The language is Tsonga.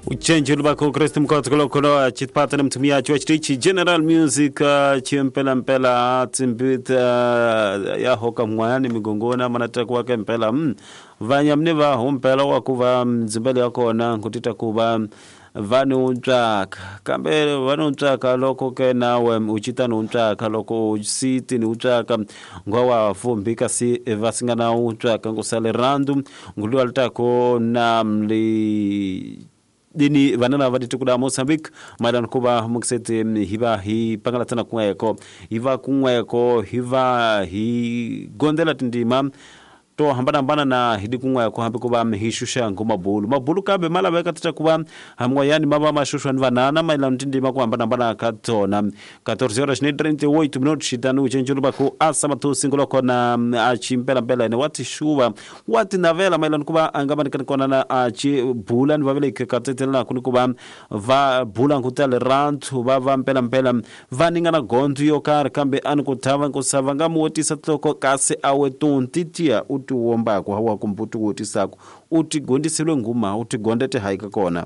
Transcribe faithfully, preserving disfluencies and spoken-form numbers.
Uchenjelo bakho Kristu mkhotsolo chitipata nemtumiaji wa chitichi General Music chimpela mpela tsimbita ya hoka mwani migongona manata kwake mpela mm. Vanyamne va humpela wa kuva mzimbele yakona kutita kuva vanu ntsaka kambe vanu ntsaka loko ke nawe uchita ntsaka loko usiti ntsaka ngwa fumbi kasi vasingana ntsaka ngusale randu ngulwa litako na mli dini vanana va ditukuda Mozambique mailano kuva mukisete hiva hi pangalatana kunweko hiva kunweko hiva hi gondela tindima to hambana hambana na hidi kunweko hambi kuva hishusha ngomabulu mabulu kambe malaveka tita kuva hamwayani mava mashushwa ni vanana mailano tindima ku hambana hambana ka tona quatorze horas ne trinta e oito minutos xitanu uchenjulu baku asa matusi nguloko na achimpela mpela ene wati shuva wati navela mailano kuva angamanikani kona na achibula ni vaveleke katetelana kuni kuva va bula nkutale rantu va va mpela mpela vaningana gondu yo karhi kambe ani kuthava nkusava nga muwotisa tloko kasi awe tuntitia utiwombako hawa kumbuti wotisako utigondisile nguma utigondete haika kona.